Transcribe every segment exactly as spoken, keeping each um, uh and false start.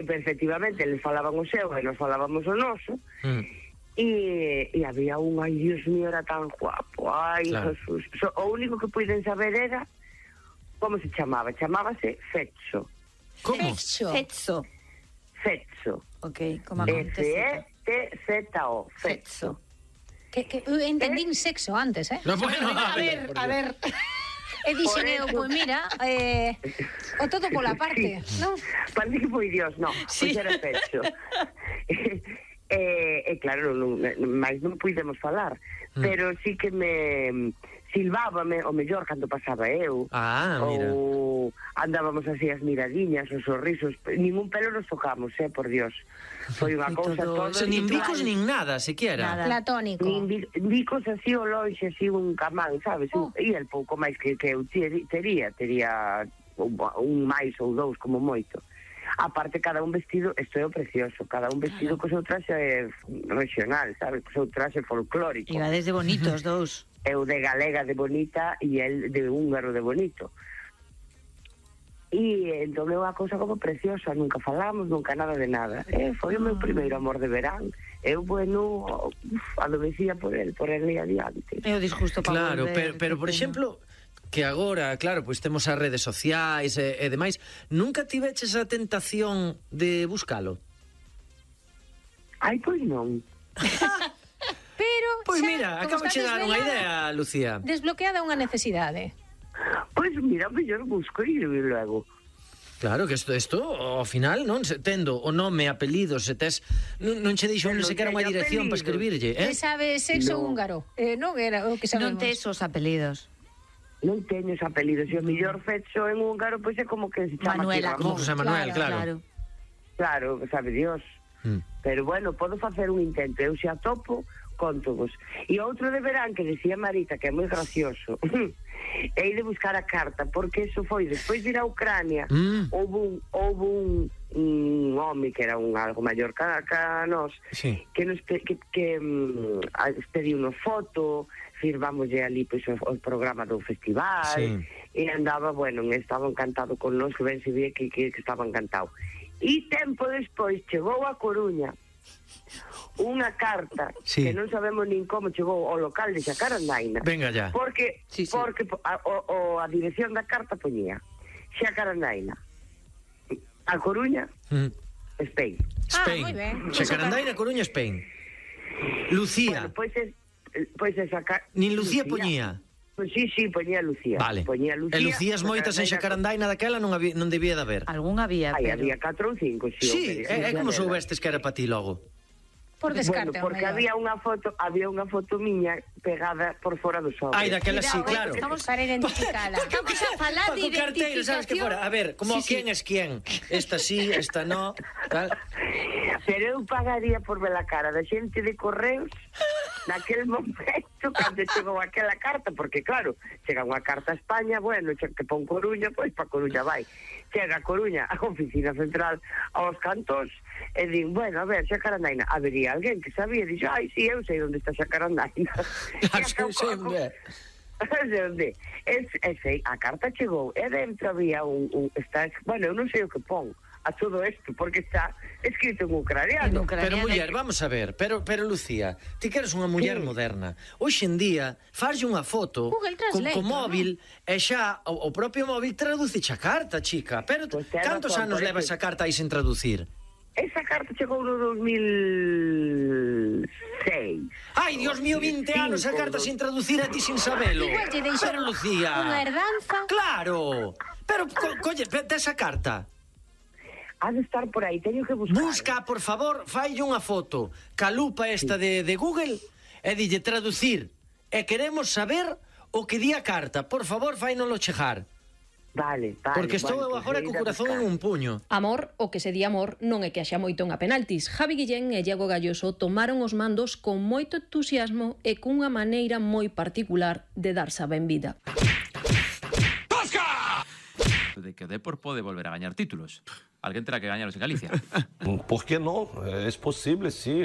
efectivamente, eles falaban o seu e nos falábamos o noso, Mm. e, e había un, ai, Dios mío, era tan guapo, ai, Claro. Jesús. So, o único que puiden saber era como se chamaba, chamábase Fetso. Como? Fetso. Fetso. Fetso. Ok, como F E acontece. T Z O. Fetso. Que, que eu entendín sexo antes, eh? No, bueno, a ver, a ver. E dixen eu, pois mira, eh, o todo pola parte, non? Parece que foi Dios, no, Sí. pois era Fetso. E, e claro, non, máis non puidemos falar, Mm. pero sí que me silvábame o mellor cando pasaba eu. Ah, mira. Ou andábamos así as miradiñas, os sorrisos, ningún pelo nos tocamos, eh, por Dios. Foi unha cousa Todo- todo. So, nin igual. bicos nin nada, siquiera. Nada. Platónico. Nin bi- bicos así o lonxe, así un camán, sabes? Oh. E el pouco máis que, que eu teri- tería, tería un, un máis ou dous como moito. Aparte, cada un vestido, isto é o precioso, cada un vestido co seu traxe regional, sabes? Co seu traxe folclórico. Iba desde bonitos dous. Eu de galega de bonita e el de húngaro de bonito. E entón é unha cousa como preciosa, nunca falamos, nunca nada de nada. Eh, foi o meu primeiro amor de verán. Eu, bueno, uf, adormecía por el, por el e adiante. É o disgusto para Claro, volver. pero, pero que por pena. exemplo, que agora, claro, pois temos as redes sociais e, e demais, nunca tiveches a tentación de buscalo? Ai, pois non. Pero Pois xa, mira, como acabo de está chegar unha desvelada, idea, Lucía. Desbloqueada unha necesidade. Pois mira, mellor busco e logo. Claro, que isto, isto ao final, non? Se, tendo o nome, apelido, se tes... Non, non che dixo Pero non non sequera unha teño dirección para apelidos. escribirlle, eh? Eh? Sabe sexo No. húngaro. Eh, non era o que sabemos. Non tes os apelidos. Non teño os apelidos. E o mellor Fetso en húngaro, pois é como que se chama Manuel aquí Como Ramón. José Manuel, claro. Claro. Claro, sabe Dios. Mm. Pero bueno, podo facer un intento. Eu xa topo, contovos. E outro de verán que decía Marita, que é moi gracioso, é ir de buscar a carta, porque eso foi despois de ir a Ucrania. Mm. Houve un, houve un, un home que era un algo maior que, que a nós, Sí. que nos pe, que, que um, pediu unha foto, firmámoslle ali pois, o, o programa do festival, Sí. e andaba, bueno, estaba encantado con nós, que ben se vía que, que, que estaba encantado. E tempo despois chegou a Coruña unha carta, Sí. que non sabemos nin como chegou ao local de Xacarandaina. Venga ya. Porque, Sí, sí. porque a, o, o, a dirección da carta poñía Xacarandaina, a Coruña, Mm. Spain. Spain. Ah, moi ben. Xacarandaina, Coruña, Spain. Lucía. Bueno, pois es, pois esa carta... Nin Lucía poñía. Pois sí, sí, poñía Lucía. Vale. Poñía Lucía. E Lucías moitas en Xacarandaina daquela non, había, non debía de haber. Algún había, Ai, pero... había catro ou cinco, sí. Sí, hombre, é, é como Lucía soubestes que era para ti logo. Por descarte, Bueno, porque ao mellor. había unha foto, había unha foto miña pegada por fora do sobre. Ai, daquela sí, Cuidado, claro. Estamos para identificala. Estamos a falar de Paco Carteiro, sabes que identificación. fora? A ver, como Sí, sí. quién es quién. Esta sí, esta no, tal. Pero eu pagaría por ver a cara da xente de correos naquel momento cando chegou aquela carta, porque claro, chega unha carta a España, bueno, che- que pon Coruña, pois pa Coruña vai. Chega a Coruña, a oficina central, aos cantos, e din, bueno, a ver, Xacarandaina, habería alguén que sabía, e dixo, ai, si, eu sei onde está Xacarandaina. Ah, sí, sí, hombre. De onde? Es, es, a carta chegou e dentro había un, un está, bueno, eu non sei o que pon a todo isto, porque está escrito en ucraniano. En ucraniano. Pero muller, vamos a ver, pero pero Lucía, ti que eres unha muller Sí. moderna. Hoxe en día farlle unha foto Google con, Translate, con móvil e xa o, o propio móvil traduce a carta, chica. Pero Pois tes cantos razón, anos por leva eso- esa carta aí sin traducir? Esa carta chegou no dos mil seis. Ai, Dios mío, vinte anos a carta sin traducir a ti sin sabelo. Igual lle Pero deixaron Lucía. unha herdanza. Claro. Pero co, colle, tes a carta. Ha de estar por aí, teño que buscar. Busca, por favor, faille unha foto ca lupa esta de, de Google e dille traducir. E queremos saber o que di a carta. Por favor, fainolo chegar. Vale, vale. Porque estou bueno, eu agora pois co ir a corazón en buscar. un puño. Amor, o que se di amor, non é que haxa moito en a penaltis. Javi Guillén e Iago Galloso tomaron os mandos con moito entusiasmo e cunha maneira moi particular de darse a benvida. De que o Depor pode volver a gañar títulos. alguén terá que gañaros en Galicia. ¿Por qué no? Es posible, sí.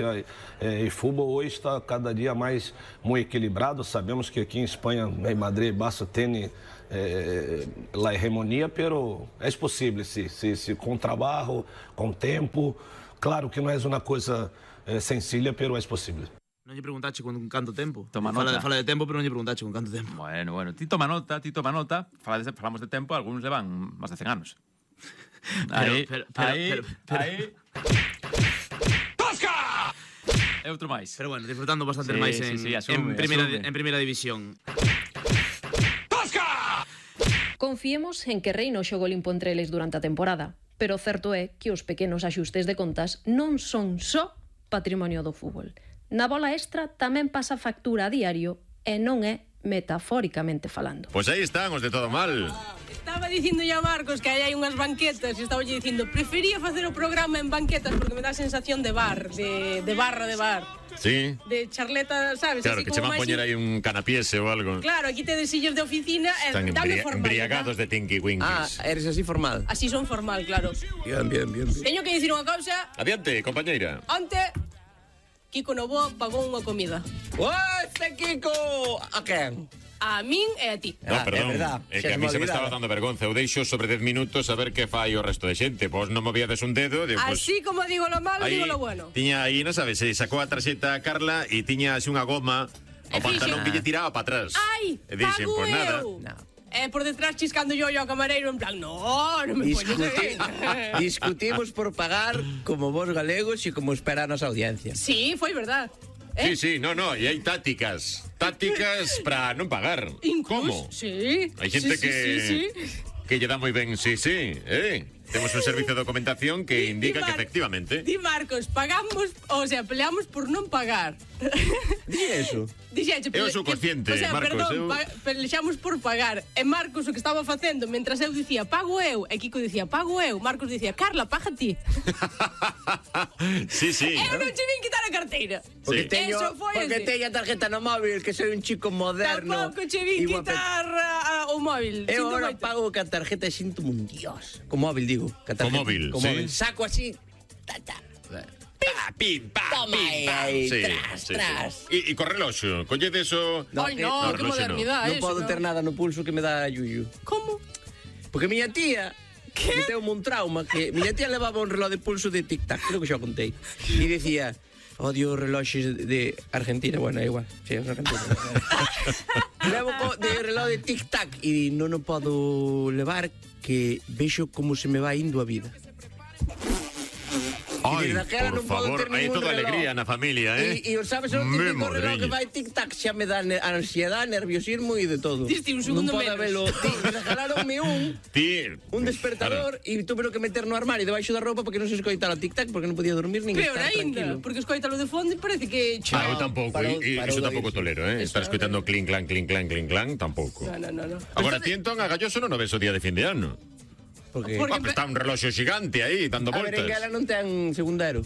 El fútbol hoy está cada día más muy equilibrado. Sabemos que aquí en España, en Madrid, Barça tiene eh, la hegemonía, pero es posible, sí, sí, sí, con trabajo, con tiempo. Claro que no es una cosa eh, sencilla, pero es posible. Non lle preguntache con canto tempo. Toma fala, nota. Fala de tempo, pero non lle preguntache con canto tempo. Bueno, bueno, ti toma nota, ti toma nota. Falades, falamos de tempo, algúns levan máis de cen anos. Aí, pero, pero, aí, pero, pero, aí. ¡Tosca! E outro máis. Pero bueno, disfrutando bastante Sí, máis sí, en, sí, asume, en, primeira, asume. en primeira división. Confiemos en que reina o xogo limpo entre eles durante a temporada, pero o certo é que os pequenos axustes de contas non son só patrimonio do fútbol. Na bola extra tamén pasa factura a diario e non é metafóricamente falando. Pois aí están os de todo mal. Estaba dicindo ya Marcos que aí hai unhas banquetas e estaba lle dicindo prefería facer o programa en banquetas porque me dá a sensación de bar, de, de barra de bar. Sí. De charleta, sabes? Claro, Así que como che van máis poñer in- aí un canapiese ou algo. Claro, aquí tedes sillos de oficina e Están dame embria formalidade. embriagados de Tinky Ah, Winkies. eres así formal. Así son formal, claro. Bien, bien, bien, bien. Teño que dicir unha cousa. Adiante, compañeira. Onte, Kiko Novoa pagou unha comida. ¡Oeste, Kiko! A quen? A min e a ti. No, Ah, perdón, é verdad, é xa que a se mí me se me olvidaba. estaba dando vergonza. Eu deixo sobre dez minutos a ver que fai o resto de xente. Pois non movíades un dedo, digo, pois... Así como digo lo malo, Aí digo lo bueno. tiña aí, non sabes, se sacou a tarxeta a Carla e tiña así unha goma E ao pantalón fixen- que lle tiraba para atrás. Ai, E dixen, pago pois nada. eu. No. E por detrás chiscando yo yo ao camareiro en plan, no, non me poñes Discuti aí. discutimos por pagar como vos galegos e como espera a nosa audiencia. Sí, foi verdad. Sí, sí, no, no, e hai tácticas. Tácticas para non pagar. Incluso, Como? Sí. Hai xente sí, que sí, sí, sí. que lle dá moi ben, sí, sí, eh. Temos un servicio de documentación que indica Di que Mar- efectivamente. Di Marcos, pagamos, o sea, peleamos por non pagar. Di eso. Dixeche, Eu pele- sou que- consciente, o sea, Marcos, perdón, eu- pa, pelexamos por pagar. E Marcos o que estaba facendo, mentras eu dicía, pago eu, e Kiko dicía, pago eu, Marcos dicía, Carla, paga ti. Sí, sí. Eu non che vin quitar a carteira. Porque Sí. teño, Eso foi porque así. teño a tarjeta no móvil, que soy un chico moderno. Tampouco che vin e guapete. quitar a, a, o móvil. Eu Sinto ahora moito. pago ca tarjeta e sinto un dios. Con móvil, digo. Ca tarjeta, Con móvil, con sí. móvil. Saco así. Ta, ta. Pa, pim, pa, Toma pim, aí, pa. aí, Sí, tras, sí, tras. sí. E, e co reloxo, colledes o... Ai, que- no, no, que reloxo modernidade Non eso, podo ter nada no pulso que me dá yuyu. Como? Porque miña tía meteu un trauma que miña tía levaba un reloj de pulso de tic-tac, creo que xa o contei. E dicía, odio reloxes de Argentina, bueno, é igual, sí, é Argentina. Levo co- de reloj de tic-tac e non o podo levar que vexo como se me vai indo a vida. Ai, desde aquela por non podo favor, ter hai ningún toda reloj. alegría na familia, eh? E, e sabes, o Me típico reloj que madriña. vai tic-tac xa me dá ne- ansiedade, nerviosismo e de todo. Diste un segundo non podo menos. velo. Ti, regalaronme un Ti... un despertador e tuve que meter no armario debaixo da roupa porque non se escoitara o tic-tac porque non podía dormir nin Peor estar ainda, tranquilo. porque escoítalo de fondo e parece que... Ah, eu tampouco, parou- e, e parou iso de tampouco oírse. tolero, eh? Estar escoitando clink, clan, clink, clan, clink, clan, tampouco. No, no, no, no. Agora, ti entón a Galloso non o ves o día de fin de ano. Porque Porque- Ah, pues está un reloxo xigante aí, dando a voltas. berenguela non ten segundero.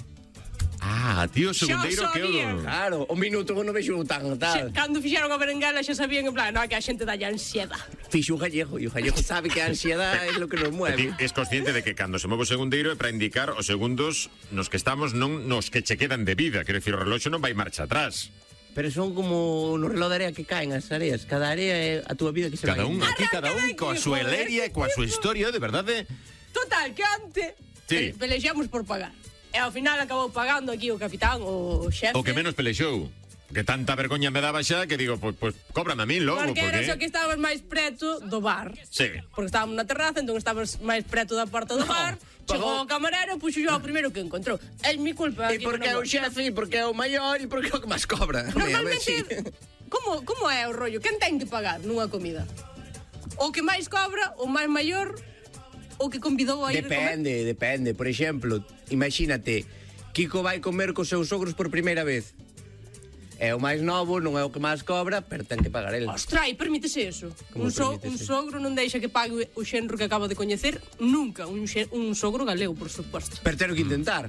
Ah, tío, Xa segundeiro que sabía. o... Claro, o minuto que non vexo tan Xe, tal. cando fixeron a berenguela xa sabían en plan, no, que a xente dalle ansiedade. Fixo un gallego e o gallego sabe que a ansiedade é lo que nos Ti mueve. es consciente de que cando se move o segundeiro é para indicar os segundos nos que estamos, non nos que che quedan de vida. Quero dicir, o reloxo non vai marcha atrás. Pero son como no reloj de area que caen as areas. Cada area é a túa vida que se Cada vai. un, aquí cada un coa súa leria e coa súa historia, de verdade. Total, que antes Sí. pe- pelexamos por pagar. E ao final acabou pagando aquí o capitán, o xefe. O que menos pelexou. Que tanta vergoña me daba xa que digo, pois pues, pues, cóbrame a mí logo, Porque era porque... só que estabas máis preto do bar. Sí. Porque estábamos na terraza, entón estabas máis preto da porta do bar. Chegou o camarero, puxo yo o primeiro que encontrou. É mi culpa. E aquí porque é non o vou. xefe, e porque é o maior, e porque é o que máis cobra. Normalmente, como, como é o rollo? Quen ten que pagar nunha comida? O que máis cobra, o máis maior, o que convidou a ir a comer? Depende, depende. Por exemplo, imagínate, Kiko vai comer cos seus sogros por primeira vez. É o máis novo, non é o que máis cobra, pero ten que pagar el. Ostra, e permítese eso. Un, Como so, un permítese? sogro non deixa que pague o xenro que acaba de coñecer nunca. Un, xe, un sogro galego, por suposto. Pero ten que intentar.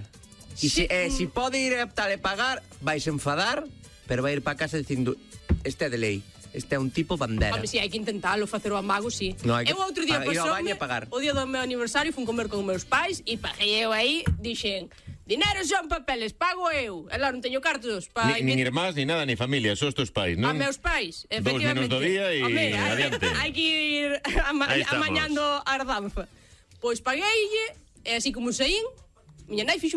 E se, eh, si pode ir a tal e pagar, vais enfadar, pero vai ir para casa dicindo, este é de lei. Este é un tipo bandera. Home, si, hai que intentalo, facer o amago, si. No, hai que Eu outro día pa- ir ao baño pasoume, e pagar. o día do meu aniversario, fun comer con meus pais e paguei eu aí, dixen, dinero son papeles, pago eu. E lá non teño cartos pa... Ni, nin irmás, ni nada, ni familia, sos tus pais, A non? meus pais, Dos efectivamente. nenos do día e Home, hai- adiante. hai que ir ama Aí estamos. amañando a ardanza. Pois pagueille, e así como saín, miña nai fixo